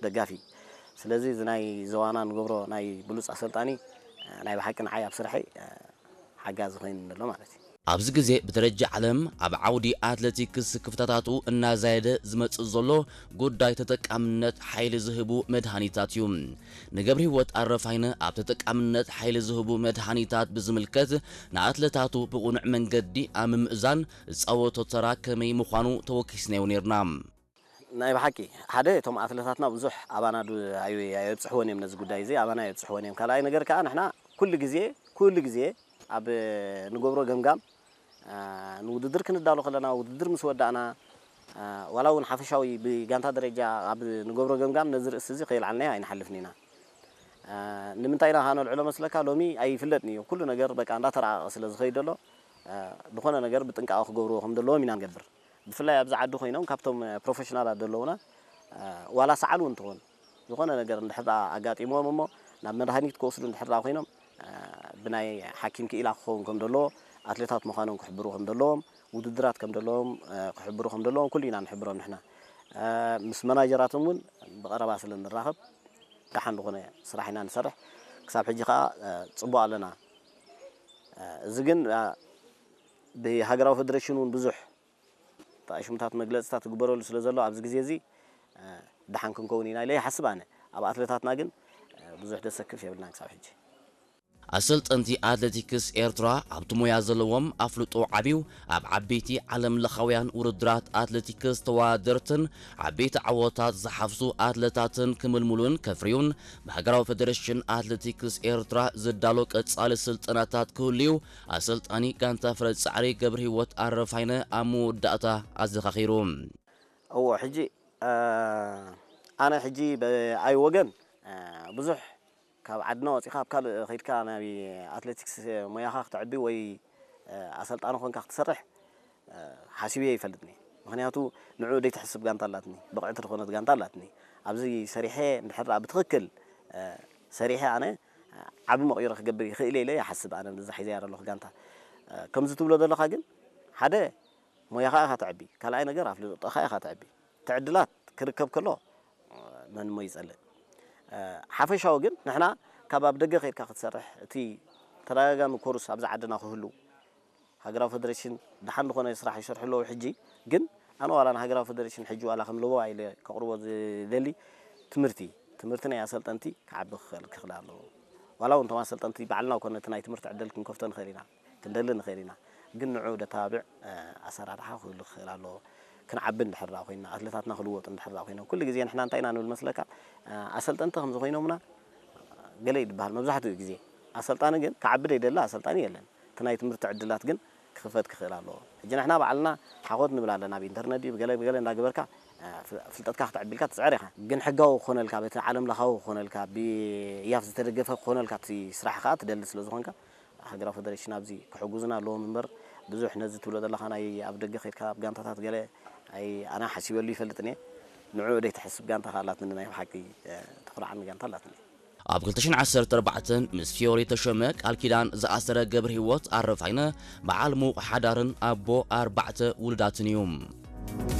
ደጋፊ። ስለዚ እዚ ናይ ዞባና ንገብሮ ናይ ብሉጽ ኣሰልጣኒ፣ እ፣ ናይ ብሓቂ ንዓይ ኣብ ስርሐይ፣ እ፣ ሓጋዚ ኮይኑ ኣሎ ማለት እዩ። ኣብዚ ግዜ ብደረጃ ዓለም ኣብ ዓውዲ ኣትለቲክስ ክፍተታቱ እናዛየደ ዝመጽእ ዘሎ ጉዳይ ተጠቃምነት ሓይሊ ዝህቡ መድሃኒታት እዩ። ንገብርሂወት ኣረፋይነ ኣብ ተጠቃምነት ሓይሊ ዝህቡ መድሃኒታት ብዝምልከት ንኣትለታቱ ብቕኑዕ መንገዲ ኣብ ምምእዛን ዝጻወቶ ተራ ከመይ ምዃኑ ተወኪስናዮ ነይርና። ናይ ብሓቂ ሓደ እቶም ኣትለታትና ብዙሕ ኣባና ዱ- ኣዩ- ኣየብፅሕዎን እዮም ነዚ ጉዳይ እዚ ኣባና ኣየብፅሕዎን እዮም። ካልኣይ ነገር ከዓ ንሕና ኩሉ ግዜ ኩሉ ግዜ ኣብ ንገብሮ ገምጋም፣ አ፣ ንውድድር ክንዳሎ ከለና ውድድር ምስ ወዳእና፣ አ፣ ዋላ እውን ሓፈሻዊ ብጋንታ ደረጃ ኣብ ንገብሮ ገምጋም ነዚ ርእሲ እዚ ከየልዓልናዮ ኣይንሓልፍን ኢና። አ፣ ንምንታይ ኢና ከ ነልዕሎ መስለካ? ሎሚ ኣይፍለጥን እዩ ኩሉ ነገር በቃ እንዳተረኣቐ ስለ ዝኸይድ ዘሎ፣ አ፣ ዝኾነ ነገር ብጥንቃቐ ክገብርዎ ከም ዘለዎም ኢና ንገብር። ብፍላይ ኣብዚ ዓዲ ኮይኖም ካብቶም ፕሮፌሽናላት ዘለውና፣ አ፣ ዋላ ሰዓል እውን ትኾን ዝኾነ ነገር እንድሕር ደኣ ኣጋጢምዎም እሞ ናብ መድሃኒት ክወስዱ እንድሕር ደኣ ኮይኖም፣ አ፣ ብናይ ሓኪም ክኢላ ክኸውን ከም ዘለዎ፣ ኣትሌታት ምዃኖም ክሕብሩ ከም ዘለዎም፣ ውድድራት ከም ዘለዎም፣ አ፣ ክሕብሩ ከም ዘለዎም ኩሉ ኢና ንሕብሮም ንሕና። አ፣ ምስ መናጀራቶም እውን ብቐረባ ስለ ንራኸብ ደሓን ዝኾነ ስራሕ ኢና ንሰርሕ። ክሳብ ሕጂ ከኣ፣ አ፣ ጽቡቕ ኣለና። አ፣ እዚ ግን፣ አ፣ ብሃገራዊ ፌደሬሽን እውን ብዙሕ ተኣሽሙታት መግለጽታት ዝግበረሉ ስለ ዘሎ ኣብዚ ግዜ እዚ፣ እ፣ ደሓን ክንከውን ኢና ኢለ ይሓስብ ኣነ። ኣብ ኣትለታትና ግን፣ እ፣ ብዙሕ ደሰክፍ የብልናን ክሳብ ሕጂ። ኣሰልጠንቲ ኣትሌቲክስ ኤርትራ ኣብቲ ሞያ ዘለዎም ኣፍልጦ ዓብዩ ኣብ ዓበይቲ ዓለም ለኻውያን ውድድራት ኣትሌቲክስ ተወዳደርትን ዓበይቲ ዓወታት ዝሓፍሱ ኣትለታትን ክምልምሉን ከፍርዩን ብሃገራዊ ፌደሬሽን ኣትሌቲክስ ኤርትራ ዝዳሎ ቀጻሊ ስልጠናታት ክህሉ እዩ ኣሰልጣኒ ጋንታ ፍረ ጻዕሪ ገብረሂወት ኣረፋይነ ኣብ መወዳእታ ኣዘኻኺሩ። እዎ፣ ሕጂ፣ እ፣ ኣነ ሕጂ ብኣይ ወገን፣ እ፣ ብዙሕ ካብ ዓድና ወጺኻ ኣብ ካልእ ከይድካ ናይ ኣትሌቲክስ ሞያኻ ክተዕቢ ወይ፣ እ፣ ኣሰልጣኒ ኮንካ ክትሰርሕ፣ እ፣ ሓሲበ ይፈልጥኒ። ምኽንያቱ ንዕኡ ደይትሕስብ ጋንታ ኣላትኒ፣ ብቕዕቲ ዝኾነት ጋንታ ኣላትኒ። ኣብዚ ሰሪሐ እንድሕር ደኣ ብትኽክል፣ እ፣ ሰሪሐ ኣነ ዓቢ መቕይሮ ክገብር ይኽእል ኢለ ይሓስብ ኣነ ነዛ ሒዘያ ዘለኹ ጋንታ። እ፣ ከምዚ ትብሎ ዘለኻ ግን ሓደ ሞያኻ ኢኻ ተዕቢ፣ ካልኣይ ነገር ኣፍልጦኻ ኢኻ ተዕቢ። እቲ ዕድላት ክርከብ ከሎ መን እሞ ይጸልእ። እ፣ ሓፈሻዊ ግን ንሕና ካብ ኣብ ደገ ከይድካ ክትሰርሕ እቲ ተደጋጋሚ ኮርስ ኣብዚ ዓድና ክህሉ ሃገራዊ ፌደሬሽን ደሓን ዝኾነ ስራሕ ይሰርሑ ኣለዉ። ሕጂ ግን ኣነ ዋላ ንሃገራዊ ፌደሬሽን ሕጂ ዋላ ከም ለበዋ ኢለ ከቕርቦ ዝደሊ ትምህርቲ ትምህርቲ ናይ ኣሰልጠንቲ ክዓቢ ክኽእል ክኽእል ኣለዎ። ዋላ እውን እቶም ኣሰልጠንቲ ባዕልና ኮነ እቲ ናይ ትምህርቲ ዕድል ክንከፍቶ ንኽእል ኢና፣ ክንደሊ ንኽእል ኢና። ግን ንዑ ደተባብዕ፣ እ፣ ኣሰራርሓ ክህሉ ክኽእል ኣለዎ። ክንዓቢ እንድሕር ደኣ ኮይና፣ ኣትሌታትና ክልወጡ እንድሕር ደኣ ኮይኖም፣ ኩሉ ግዜ ንሕና እንታይ ኢና ንብል መስለካ? እ፣ ኣሰልጠንቲ ከም ዝኾይኖምና ገለ እዩ ዝበሃል መብዛሕትኡ ግዜ። ኣሰልጣኒ ግን ክዓቢ ደይደሊ ኣሰልጣኒ የለን። እቲ ናይ ትምህርቲ ዕድላት ግን ክኽፈት ክኽእል ኣለዎ። ሕጂ ንሕና ባዕልና ሓኾት ንብል ኣለና፣ ኣብ ኢንተርነት ድዩ ብገለ ብገለ እንዳገበርካ፣ እ፣ ፍል-፣ ፍልጠትካ ክተዕቢ ኢልካ ትጽዕር ኢኻ። ግን ሕጋዊ ክኾነልካ፣ በቲ ዓለም ለኻዊ ክኾነልካ፣ ብያፍ ዝተደገፈ ክኾነልካ እቲ ስራሕ ከኣ ትደሊ ስለ ዝኾንካ፣ ሃገራዊ ፌደሬሽን ኣብዚ ክሕጉዝና ኣለዎም እምበር፣ ብዙሕ ነዚ ትብሎ ዘለኻ ናይ ኣብ ደገ ከይድካ ኣብ ጋንታታት ገለ ኣይ-፣ ኣነ ሓሲበሉ ይፈልጥን እየ። ንዕኡ ደይትሕስብ ጋንታ ከኣ ኣላትኒ ናይ ብሓቂ፣ እ፣ ተኹርዓኒ ጋንታ ኣላትኒ። ኣብ ክልተ ሽሕን ዓሰርተ ኣርባዕተን ምስ ፊዮሪ ተሾመ ቃል ኪዳን ዝኣሰረ ገብረሂወት ኣረፋይነ በዓል ምዉቕ ሓዳርን ኣቦ ኣርባዕተ ውሉዳትን እዩ።